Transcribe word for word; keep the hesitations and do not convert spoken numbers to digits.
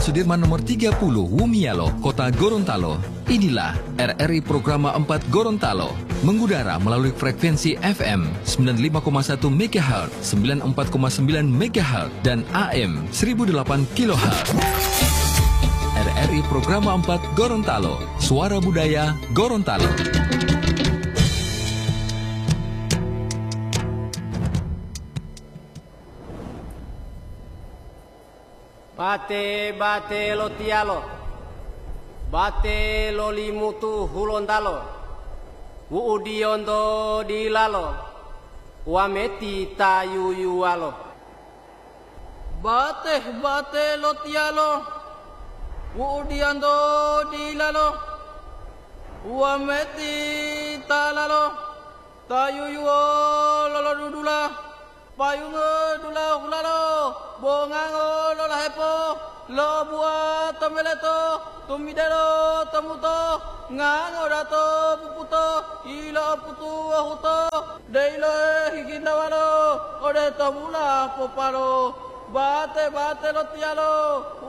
Sudirman nomor tiga puluh, Wumialo, Kota Gorontalo. Inilah R R I Programa empat Gorontalo, mengudara melalui frekuensi F M sembilan lima koma satu megahertz, sembilan empat koma sembilan megahertz, dan A M seribu delapan kilohertz. R R I Programa empat Gorontalo, Suara Budaya Gorontalo. Bate-bate lo tiyalo, bate lo Limutu Hulontalo, wu'udiyonto dilalo, wameti ta yuyuwalo. Bate-bate lo tiyalo, wu'udiyonto dilalo, wameti ta lalo, ta yuyuwo lolodudula. Payungo dulahulalo, bongango lolahepo, lobuwa to meleto, tumidelo to muto, ngango dato puputo, ilo'oputu wahuto, deilohe higintawalo, ode to mula popalo, bate-bate lo tiyalo,